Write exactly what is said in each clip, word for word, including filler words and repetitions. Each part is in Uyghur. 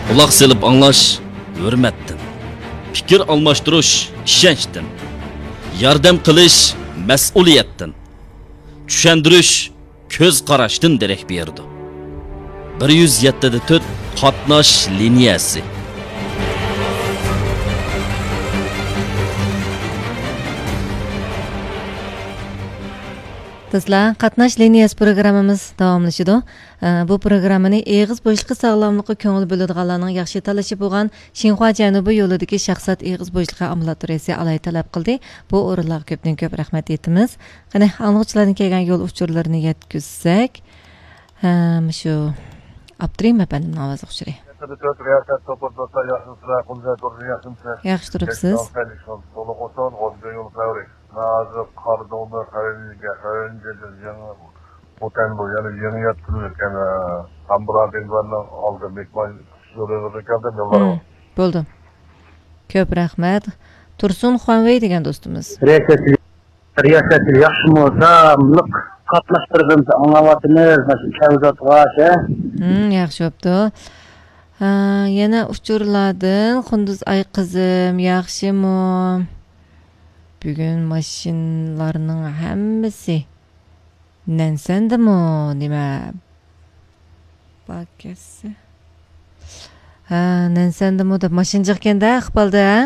قۇلاق سېلىپ ئاڭلاش ھۆرمەتتىن، پىكىر ئالماشتۇرۇش ئىشەنچتىن، ياردەم قىلىش مەسئۇلىيەتتىن، چۈشەندۈرۈش كۆز قاراشتىن دېرەك بېرىدۇ. بىر يۈز يەتتە دە تۆت قاتناش لىنىيەسى. دوستلار، قاتناش لىنىيەسى پروگراممىمىز داۋاملىشىدۇ. ئە، بۇ پروگراممىنى ئېغىز بوشلۇقى ساغلاملىققا كۆڭۈل بۆلىدىغانلارنىڭ ياخشى تاللىشى بولغان شىنخۇا جەنۇبىي يولىدىكى شاخسات ئېغىز بوشلۇقى ئامبۇلاتورىيەسى ئالاھىدە تەلەپ قىلدى. بۇ ئورۇنلارغا كۆپتىن كۆپ رەھمەت ئېيتىمىز. قېنى، ئاڭلىغۇچىلاردىن كەلگەن يول ئۇچۇرلىرىنى يەتكۈزسەك، ھە، مۇشۇ ئابدۇرېھىم ئەپەندىمنىڭ ئاۋازلىق ئۇچۇرى. يەتتە دە تۆت رىياسەت توپىدىن دوستلار، ياخشىمۇسىلەر؟ قۇلجا تۇردى، ياخشىمۇسىلەر؟ ياخشى تۇرۇپسىز. مەن ھازىر قارىدۇڭنى خەۋىرىنىگە، خەۋىرىنى يېڭى خوتەن بۇ، يەنى يېڭى يەتكۈزۈلگەن، ئە، قامبىرا دېڭىزلارنىڭ ئالدى مېھمان يولىغا كەلدىم، يوللارغا. مم، بولدى. كۆپ رەھمەت. تۇرسۇن خۇەنۋېي دېگەن دوستىمىز. رىياسەتچى، رىياسەتچى ياخشىمۇ؟ ساغلىق قاتناشتۇرۇپ ئاڭلاۋاتىمىز، مانا شۇ كەۋزاتقا، ھە؟ مم، ياخشى بوپتۇ. ھە، يەنە ئۇچۇرلاردىن قۇندۇز ئاي قىزىم ياخشىمۇ؟ بۈگۈن ماشىنىلارنىڭ ھەممىسى نەنسەندىمۇ نېمە بار كەتسە؟ ھە، نەنسەندىمۇ دەپ ماشىنا جىقكەندە ئىقبالدا، ھە؟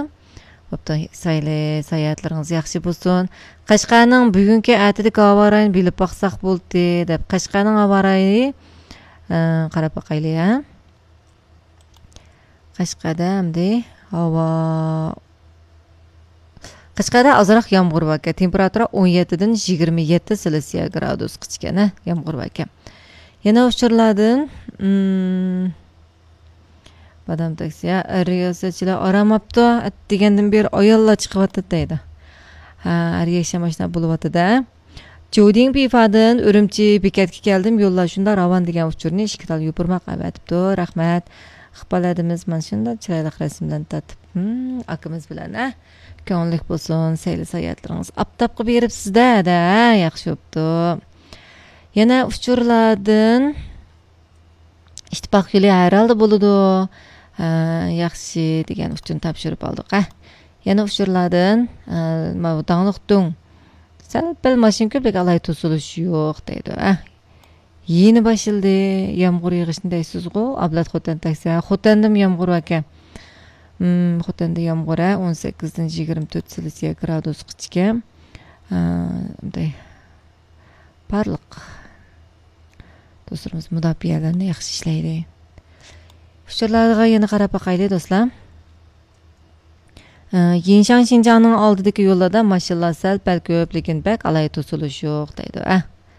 بوپتۇ، سايلى ساياھەتلىرىڭىز ياخشى بولسۇن. قەشقەرنىڭ بۈگۈنكى ئەتىدىكى ھاۋا رايىنى بىلىپ باقساق بولدى دەپ، قەشقەرنىڭ ھاۋا رايى، ئە، قاراپ باقايلى، ھە؟ قەشقەردە ئەمدى ھاۋا، قەشقەردە ئازراق يامغۇر باركەن. تېمپېراتۇرا ئون يەتتىدىن يىگىرمە يەتتە سېلسىيە گرادۇسقىچىكەن، ھە، يامغۇر باركەن. يەنە ئۇچۇرلاردىن، ئىم، بادام تاكسى، ھە، رىياسەتچىلەر ئارام ئاپتۇ، ئەتىگەندىن بېرى ئاياللار چىقىۋاتىدۇ دەيدۇ. ھە، ھەر يەكشەنبە ئاشۇنداق بولۇۋاتىدۇ، ھە. جودىڭ پىفادىن ئۈرۈمچى بېكەتكە كەلدىم، يوللار شۇنداق راۋان دېگەن ئۇچۇرنى ئىككى تال يوپۇرماق ئەۋەتىپتۇ. رەھمەت. ئىقبال ھەدىمىز مانا شۇنداق چىرايلىق رەسىملەرنى تارتىپ، ھىم، ئاكىمىز بىلەن، ھە؟ كۆڭۈللۈك بولسۇن سەيلە ساياھەتلىرىڭىز. ئاپتاپقا بېرىپسىز-دە، ھەدە، ھە، ياخشى بوپتۇ. يەنە ئۇچۇرلاردىن ئىتتىپاق يولى ھەر ھالدا بولىدۇ. ھە، ياخشى دېگەن ئۇچۇرنى تاپشۇرۇپ ئالدۇق، ھە. يەنە ئۇچۇرلاردىن، ئە، ماۋۇ داڭلىق دۇڭ. سەل پەل ماشىنا كۆپ، لېكىن ئالاھىدە توسۇلۇش يوق دەيدۇ، ئە. يېنى باشلىدى يامغۇر يېغىشنى دەيسىزغۇ، ئابلەت خوتەن تاكسى. ھە، خوتەندىمۇ يامغۇر باركەن. ھىم، خوتەندە يامغۇر، ھە، ئون سەككىزدىن يىگىرمە تۆت سېلسىيە گرادۇسقىچىكەن. ھە، مۇنداق. بارلىق دوستلىرىمىز مۇداپىئەلەرنى ياخشى ئىشلەيلى. ئۇچۇرلارغا يەنە قاراپ باقايلى، دوستلار. ئە، يىنشاڭ شىنجاڭنىڭ ئالدىدىكى يوللاردا ماشىنىلار سەل پەل كۆپ، لېكىن بەك ئالاھىدە توسۇلۇش يوق دەيدۇ. ئە،